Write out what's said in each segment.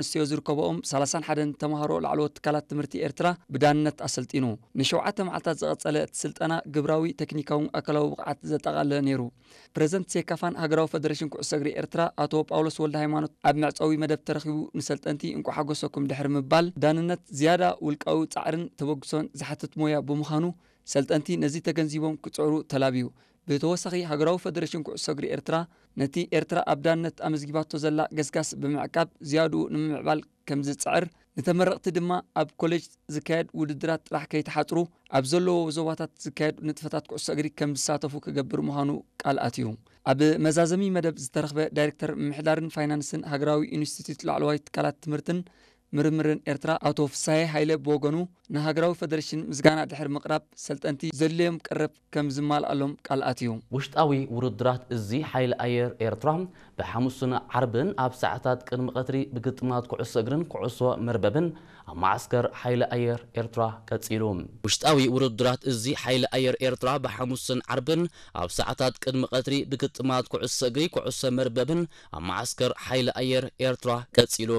ኣንስትዮ ዝርከብኦም ሰላሳን ሓደን ተምሃሮ ላዕለዎት ትካላት ትምህርቲ ኤርትራ ብዳንነት ኣሰልጢኑ። ንሸውዓተ መዓልታት ዝቐጸለ እቲ ስልጠና ግብራዊ፣ ቴክኒካውን ኣካላዊ ብቕዓት ዘጠቓለለ ነይሩ። ፕረዚደንት ሴካፋን ሃገራዊ ፈደሬሽን ኩዕሶ እግሪ ኤርትራ ኣቶ ጳውሎስ ወልደ ሃይማኖት ኣብ መዕጸዊ መደብ ተረኺቡ ንሰልጠንቲ እንቋዕ ሓጎሰኩም ድሕሪ ምባል፣ ዳንነት ዝያዳ ውልቃዊ ጻዕርን ተበግሶን ዝሓትት ሞያ ብምዃኑ፣ ሰልጠንቲ ነዚ ተገንዚቦም ክጽዕሩ ተላብዩ። ብተወሳኺ፣ ሃገራዊ ፈደሬሽን ኩዕሶ እግሪ ኤርትራ ነቲ ኤርትራ ኣብ ዳንነት ኣመዝጊባቶ ዘላ ገስጋስ ብምዕቃብ፣ ዝያድኡ ንምምዕባል ከም ዝጽዕር፣ ንተመረቕቲ ድማ ኣብ ኮሌጅ ዝካየድ ውድድራት ጥራሕ ከይተሓጽሩ፣ ኣብ ዘለዎ ዞባታት ዝካየድ ንጥፈታት ኩዕሶ እግሪ ከም ዝሳተፉ ክገብር ምዃኑ ቃል ኣትዩ። ኣብ መዛዘሚ መደብ ዝተረኽበ ዳይሬክተር ምምሕዳርን ፋይናንስን ሃገራዊ ኢንስቲትዩት ላዕለዋይ ትካላት ትምህርትን ምርምርን ኤርትራ ኣቶ ፍሳሄ ሃይለ ብወገኑ፣ ንሃገራዊ ፈደሬሽን ምስጋና ድሕሪ ምቕራብ፣ ሰልጠንቲ ዘድልዮም ቀረብ ከም ዝማልኣሎም ቃል ኣትዩ። ውሽጣዊ ውድድራት እዚ ሓይሊ ኣየር ኤርትራ ብሓሙስን ዓርብን ኣብ ሰዓታት ቅድሚ ቀትሪ ብግጥማት ኩዕሶ እግርን ኩዕሶ መርበብን ኣብ መዓስከር ሓይሊ ኣየር ኤርትራ ቀጺሉ። ውሽጣዊ ውድድራት እዚ ሓይሊ ኣየር ኤርትራ ብሓሙስን ዓርብን ኣብ ሰዓታት ቅድሚ ቀትሪ ብግጥማት ኩዕሶ እግሪ ኩዕሶ መርበብን ኣብ መዓስከር ሓይሊ ኣየር ኤርትራ ቀጺሉ።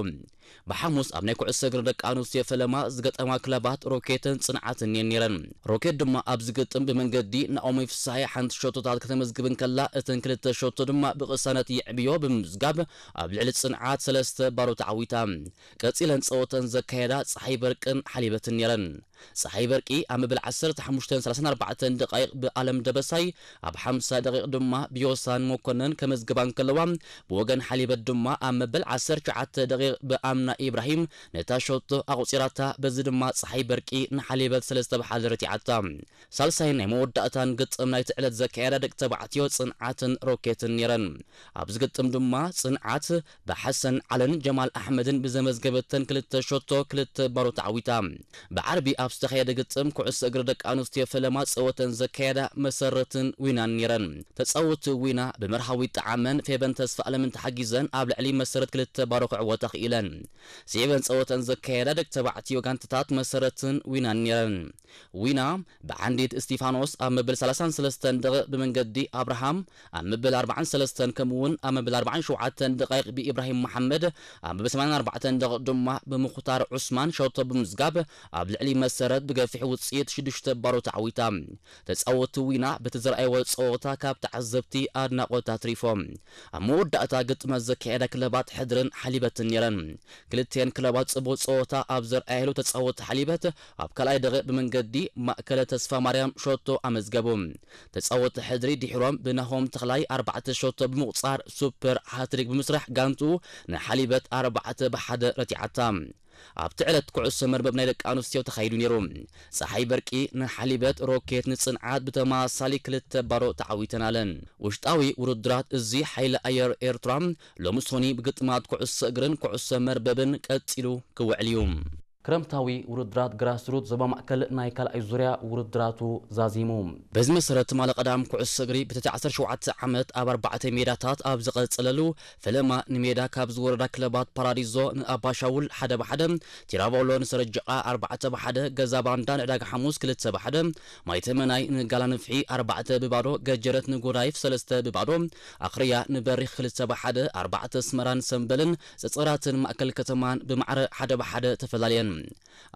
ብሓሙስ ኣብ ናይ ኩዕሶ እግሪ ደቂ ኣንስትዮ ፈለማ ዝገጠማ ክለባት ሮኬትን ጽንዓትን እየን ነይረን። ሮኬት ድማ ኣብዚ ግጥም ብመንገዲ ናኦሚ ፍስሃየ ሓንቲ ሸቶታት ከተመዝግብ እንከላ፣ እተን ክልተ ሸቶ ድማ ብቕሳነት የዕብዮ ብምምዝጋብ ኣብ ልዕሊ ጽንዓት ሰለስተ ባዶ ተዓዊታ። ቀጺለን ጸወተን ዘካየዳ ጸሓይ በርቅን ሓሊበትን ነይረን። ጸሓይ በርቂ ኣብ መበል ዓሰርተ ሓሙሽተን ሰላሳን ኣርባዕተን ደቃይቕ ብኣለም ደበሳይ፣ ኣብ ሓምሳ ደቂቕ ድማ ብዮሳን መኮነን ከመዝግባ እንከለዋ፣ ብወገን ሓሊበት ድማ ኣብ መበል ዓሰርተ ትሽዓተ ደቂቕ ብኣምና ኢብራሂም ነታ ሸቶ ኣቑጺራታ። በዚ ድማ ጸሓይ በርቂ ንሓሊበት ሰለስተ ብ ሓደ ረቲዓታ። ሳልሳይን ናይ መወዳእታን ግጥም ናይቲ ዕለት ዘካየዳ ደቂ ተባዕትዮ ጽንዓትን ሮኬትን ነይረን። ኣብዚ ግጥም ድማ ጽንዓት ብሓሰን ዓለን ጀማል ኣሕመድን ብዘመዝገበተን ክልተ ሸቶ ክልተ ባዶ ተዓዊታ። ብዓርቢ ኣብ ዝተኻየደ ግጥም ኩዕሶ እግሪ ደቂ ኣንስትዮ ፈለማ ጸወተን ዘካየዳ መሰረትን ዊናን ነይረን። ተጻወቲ ዊና ብመርሃዊት ጠዓመን ፌበን ተስፋ ኣለምን ተሓጊዘን ኣብ ልዕሊ መሰረት ክልተ ባዶ ክዕወታ ክኢለን። ስዒበን ጸወተን ዘካየዳ ደቂ ተባዕትዮ ጋንታታት መሰረትን ዊናን ነይረን። ዊና ብዓንዲት እስቲፋኖስ ኣብ መበል ሰላሳን ሰለስተን ደቂቕ ብመንገዲ ኣብርሃም ኣብ መበል ኣርባዓን ሰለስተን ከምኡውን ኣብ መበል ኣርባዓን ሸውዓተን ደቂቕ ብኢብራሂም መሓመድ ኣብ መበል ሰማንያን ኣርባዕተን ደቂቕ ድማ ብምኹታር ዑስማን ሸቶ ብምዝጋብ ኣብ ልዕሊ መሰረት ብገፊሕ ውጽኢት ሽዱሽተ ባዶ ተዓዊታ። ተጻወቲ ዊና በቲ ዘርኣይዎ ጸወታ ካብ ተዓዘብቲ ኣድናቖት ኣትሪፎም። ኣብ መወዳእታ ግጥመት ዘካየዳ ክለባት ሕድርን ሓሊበትን ነይረን። ክልቲኤን ክለባት ጽቡቕ ጸወታ ኣብ ዘርኣየሉ ተጻወቲ ሓሊበት ኣብ ካልኣይ ደቂቕ ብመንገዲ ማእከለ ተስፋ ማርያም ሸቶ ኣመዝገቡ። ተጻወቲ ሕድሪ ድሒሮም ብናሆም ተኽላይ ኣርባዕተ ሸቶ ብምቑጻር ሱፐር ሃትሪክ ብምስራሕ ጋንቱ ንሓሊበት ኣርባዕተ ብ ሓደ ረቲዓታ። ኣብቲ ዕለት ኩዕሶ መርበብ ናይ ደቂ ኣንስትዮ ተኻይዱ ነይሩ። ጸሓይ በርቂ ንሓሊበት፣ ሮኬት ንጽንዓት ብተመሳሳሊ ክልተ ባዶ ተዓዊተን ኣለን። ውሽጣዊ ውድድራት እዚ ሓይሊ ኣየር ኤርትራ ሎሚ ሶኒ ብግጥማት ኩዕሶ እግርን ኩዕሶ መርበብን ቀጺሉ ክውዕል እዩ። ክረምታዊ ውድድራት ግራስሩት ዞባ ማእከል ናይ ካልኣይ ዙርያ ውድድራቱ ዛዚሙ። በዚ መሰረት ትማሊ ቀዳም ኩዕሶ እግሪ ብትሕቲ ዓሰርተ ሸውዓተ ዓመት ኣብ ኣርባዕተ ሜዳታት ኣብ ዝቐጸለሉ ፈለማ ንሜዳ ካብ ዝወረዳ ክለባት ፓራዲዞ ንኣባሻውል ሓደ ብ ሓደ፣ ቲራቮሎ ንሰረጀቓ ኣርባዕተ ብ ሓደ፣ ገዛ ባንዳ ንዕዳጋ ሓሙስ ክልተ ብ ሓደ፣ ማይ ተመናይ ንጋላ ንፍሒ ኣርባዕተ ብ ባዶ፣ ገጀረት ንጎዳይፍ ሰለስተ ብ ባዶ፣ ኣኽርያ ንበሪኽ ክልተ ብ ሓደ፣ ኣርባዕተ ኣስመራን ሰምበልን ጸጸራትን ማእከል ከተማን ብማዕረ ሓደ ብ ሓደ ተፈላለየን።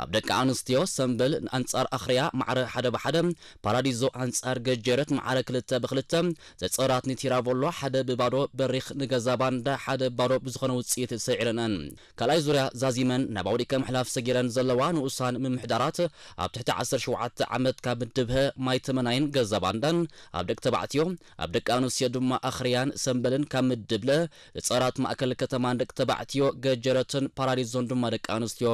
ኣብ ደቂ ኣንስትዮ ሰምበል ኣንጻር ኣኽርያ ማዕረ ሓደ ብ ሓደ፣ ፓራዲዞ ኣንጻር ገጀረት ማዕረ ክልተ ብ ክልተ፣ ጸጸራት ንቲራቮሎ ሓደ ብ ባዶ፣ በሪኽ ንገዛ ባንዳ ሓደ ብ ባዶ ብዝኾነ ውጽኢት ሰዒረንኣን። ካልኣይ ዙርያ ዛዚመን ናብ ኣውዲቀ ምሕላፍ ሰጊረን ዘለዋ ንኡሳን ምምሕዳራት ኣብ ትሕቲ ዓሰርተ ሸውዓተ ዓመት ካብ ምድብ ሀ ማይ ተመናይን ገዛ ባንዳን ኣብ ደቂ ተባዕትዮ፣ ኣብ ደቂ ኣንስትዮ ድማ ኣኽርያን ሰምበልን ካብ ምድብ ለ ጸራት ማእከል ከተማን ደቂ ተባዕትዮ፣ ገጀረትን ፓራዲዞን ድማ ደቂ ኣንስትዮ።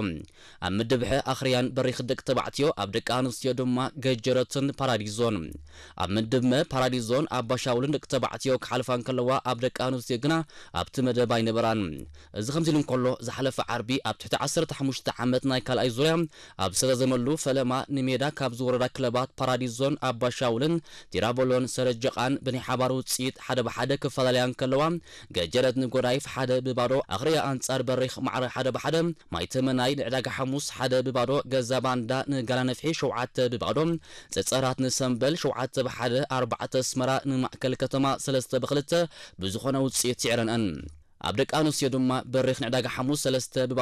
ኣብ ምድብ ሐ ኣኽርያን በሪኽ ደቂ ተባዕትዮ፣ ኣብ ደቂ ኣንስትዮ ድማ ገጀረትን ፓራዲዞን። ኣብ ምድብ መ ፓራዲዞን ኣባሻውልን ደቂ ተባዕትዮ ክሓልፋ እንከለዋ፣ ኣብ ደቂ ኣንስትዮ ግና ኣብቲ መደብ ኣይነበራን። እዚ ከምዚ ኢሉ እንከሎ፣ ዝሓለፈ ዓርቢ ኣብ ትሕቲ ዓሰርተ ሓሙሽተ ዓመት ናይ ካልኣይ ዙርያ ኣብ ዝተዛዘመሉ ፈለማ ንሜዳ ካብ ዝወረዳ ክለባት ፓራዲዞን ኣባሻውልን ቲራቮሎን ሰረጀቓን ብናይ ሓባር ውጽኢት ሓደ ብ ሓደ ክፈላለያ እንከለዋ፣ ገጀረት ንጎዳይፍ ሓደ ብ ባዶ፣ ኣኽርያ ኣንጻር በሪኽ ማዕረ ሓደ ብ ሓደ፣ ማይ ተመናይ ንዕዳጋ ሓሙስ ሓደ ብ ባዶ፣ ገዛ ባንዳ ንጋላ ነፍሒ ሸውዓተ ብ ባዶ፣ ጸጸራት ንሰምበል ሸውዓተ ብ ሓደ፣ ኣርባዕተ ኣስመራ ንማእከል ከተማ ሰለስተ ብ ክልተ ብዝኾነ ውጽኢት ስዒረንኣን። ኣብ ደቂ ኣንስትዮ ድማ በሪኽ ንዕዳጋ ሓሙስ ሰለስተ ብባዶ